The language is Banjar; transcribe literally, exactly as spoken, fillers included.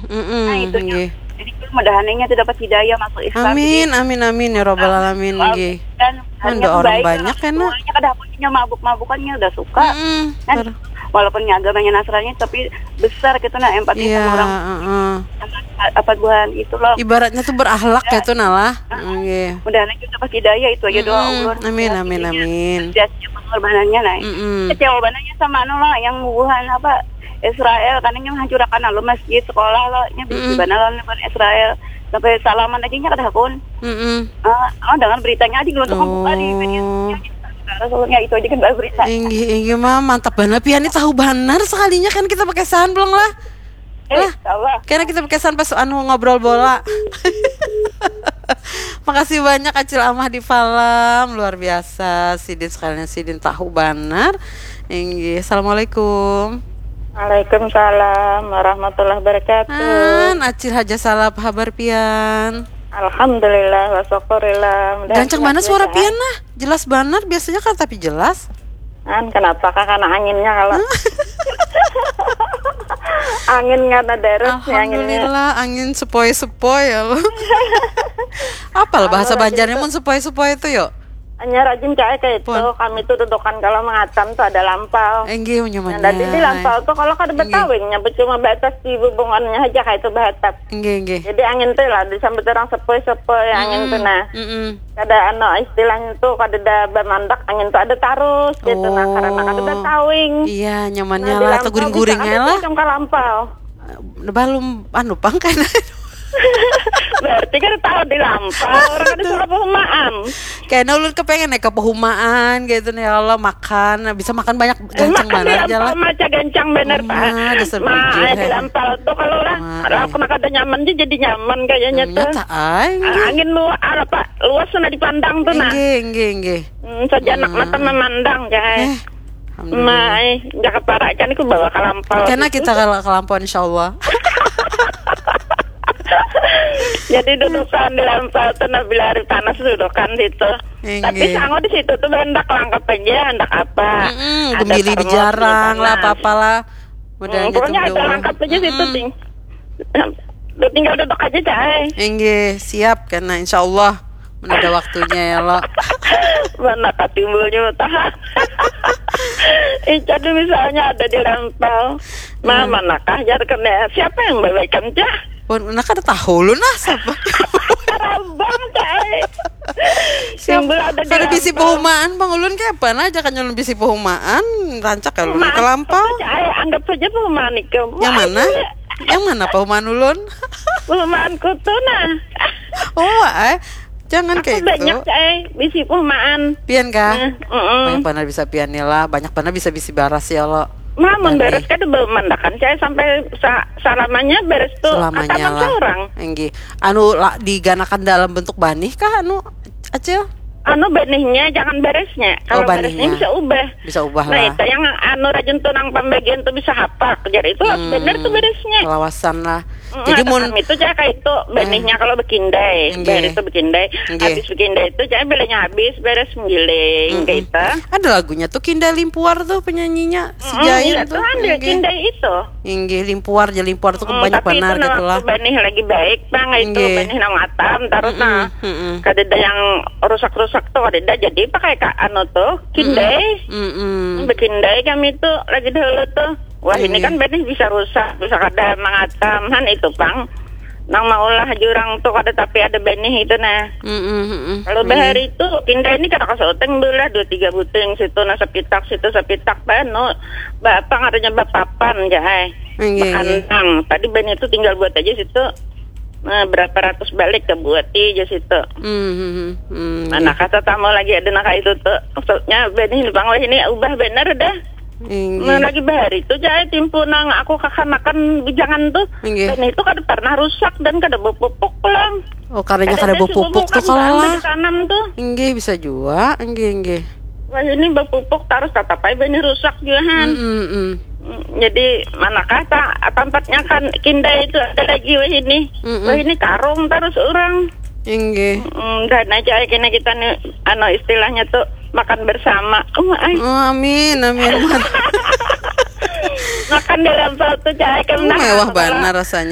Nah, itu nggih. Jadi mudahan nya tu dapat hidayah masuk Islam. Amin, amin, amin ya rabbal alamin nggih. Kan hanya orang banyak kan. Tuanya kada punya mabuk-mabukan nya udah suka. Kan walaupun nya agamanya Nasrani tapi besar gitu nah empati sama orang. Apa buhan itu loh. Ibaratnya tuh berakhlak gitu nah lah. Nggih. Mudahan aja dapat hidayah itu aja doa ulun. Amin, amin, amin. Pengorbanannya nah. Kecewa bananya sama anu lah yang buhan apa Israel karena yang hancurakan lalu masjid sekolah lo nya bisi bana lawan Israel sampai salaman aja nya kada hakun. Ah, oh, dengan beritanya aja geluntuk buka di media sosial. Rasulnya itu aja kan berita. Inggih, inggih mah mantap banar pian ni tahu banar sekalinya kan kita pakai saham belum lah. Eh, lah, Allah. Karena kita pakai saham pas anu ngobrol bola. Makasih banyak Acil Amah di Falam, luar biasa. Sidin sekalian sidin tahu banar. Inggih, assalamualaikum. Waalaikumsalam warahmatullahi wabarakatuh. An, Acil Haja Salap, habar pian? Alhamdulillah wa syukurillah. Gancang banar suara pian nah. Jelas banar, biasanya kan tapi jelas. An, kenapa kah? Karena anginnya kalau angin karena derus ya anginnya. Alhamdulillah, angin sepoi-sepoi ya lo. Apal bahasa Banjarnya mun sepoi-sepoi itu yuk? Hanya rajin cai kayak itu. Kami tuh dudukan kalau mengatam tuh ada lampau. Enggih, nyaman. Nah, jadi di lampau tuh kalau kada betawingnya cuma batas di bubungannya aja kayak itu bahatap. Enggih, enggih. Jadi angin tuh lah disambut orang sepoi-sepoi angin tuh nah. Kada anu istilahnya tuh kada ada bamandak angin tuh ada tarus gitu nah karena kada ada tawing. Iya, nyamannya lah atau guring-guringnya lah. Macam kalampau. Balum anu pang kena. Berarti kada tahu di lampau orang ada suara pehumaan. Kena ulun kepengen naik ke pehumaan gitu nih ya Allah makan bisa makan banyak gancang banget ya lah. Maca gancang bener pak. Dasar bujur. Di lampau tuh kalau lah kalau kena kada nyaman jadi nyaman kayaknya tuh. Angin luar apa luas sana dipandang tuh nah. Enggih, enggih, enggih. Hmm, saja anak mata memandang guys. Eh, alhamdulillah. Mai, jaga para ikan itu bawa kalampau. Karena kita kalau kalampau insya Allah. Jadi dudukan di lampau tuh nah bila hari panas dudukan situ. Tapi sango di situ tuh hendak langkap aja, hendak apa. Mm-mm, gembili di jarang lah, apa-apalah. Pokoknya ada langkap aja situ ting. Tinggal duduk aja cai. Inggih, siap kena insya Allah. Mun ada waktunya ya lo. Mana katimbulnya taha. Ica tuh misalnya ada di lampau. Nah, manakah jar kena siapa yang babaikan cah? Pun nak kada tahu lu nah siapa. Rabang cai. Timbul ada di lampau. Kada bisi pehumaan bang ulun kayak apa nah aja kan ulun bisi pehumaan rancak kalau ke lampau. Cai anggap saja pehumaan ikam. Yang mana? Yang mana pehumaan ulun? Pehumaan kutu nah. Oh, eh. Jangan kayak itu. Banyak eh bisi pehumaan. Pian kah? Banyak benar bisa pian lah, banyak benar bisa bisi baras ya lo. Mamun beres kada bemandakan saya sampai sa salamanya beres tuh selamanya lah. Seorang. Enggih. Anu lah diganakan dalam bentuk banih kah anu Acil? Anu benihnya jangan beresnya. Kalau oh, beresnya bisa ubah. Bisa ubah nah, lah. Itu yang anu rajin tuh nang pembagian tuh bisa hapak. Jadi itu hmm, benar tuh beresnya. Kelawasan lah. Jadi mun itu cah kayak itu benihnya kalau bekindai, bayar itu bekindai, habis bekindai itu cah belenya habis beres menggiling kayak itu. Ada lagunya tuh Kindai Limpuar tuh penyanyinya si Jain tuh. Tuh ambil kindai itu. Inggih Limpuar, jadi Limpuar tuh banyak benar gitu lah. Benih lagi baik bang itu benih nang atam terus nah. Kada ada yang rusak-rusak tuh kada ada jadi pakai anu tuh kindai. Bekindai kami tuh lagi dahulu tuh. Wah ini kan benih bisa rusak, bisa kada mangatam han itu pang. Nang maulah jurang tu kada tapi ada benih itu nah. Mm-mm, mm-mm. Kalau bahari itu pindah ini kada kasuteng beulah dua tiga buting situ nah sapitak situ sapitak banu. Ba apa ngarannya bapapan ja ai. Nggih, nggih. Bakandang. Tadi benih itu tinggal buat aja situ. Nah, berapa ratus balik ka buati aja situ. Mm, mm, mm, mm, nggih. Mana kata tamu lagi ada naka itu tu. Maksudnya benih ini pang wah ini ubah bener dah. Inggih. Nah, lagi bahari tu cai timpu nang aku kakanakan bujangan tu. Inggih. Dan itu kada pernah rusak dan kada bepupuk pulang. Oh, karena kada bepupuk tu kalau lah. Ditanam tu. Inggih, bisa jua. Inggih, inggih. Wah, ini bepupuk tarus tatapai bani rusak jua han. Mm, mm, mm. Mm, jadi manakah ta tampatnya kan kindai itu ada lagi wah ini. Mm, mm. Wah, ini karung tarus orang. Inggih. Mm, dan aja kena kita nih anu istilahnya tu makan bersama. Oh, ai. Oh, amin, amin. Makan di lampau tu cai kena. Mewah banar rasanya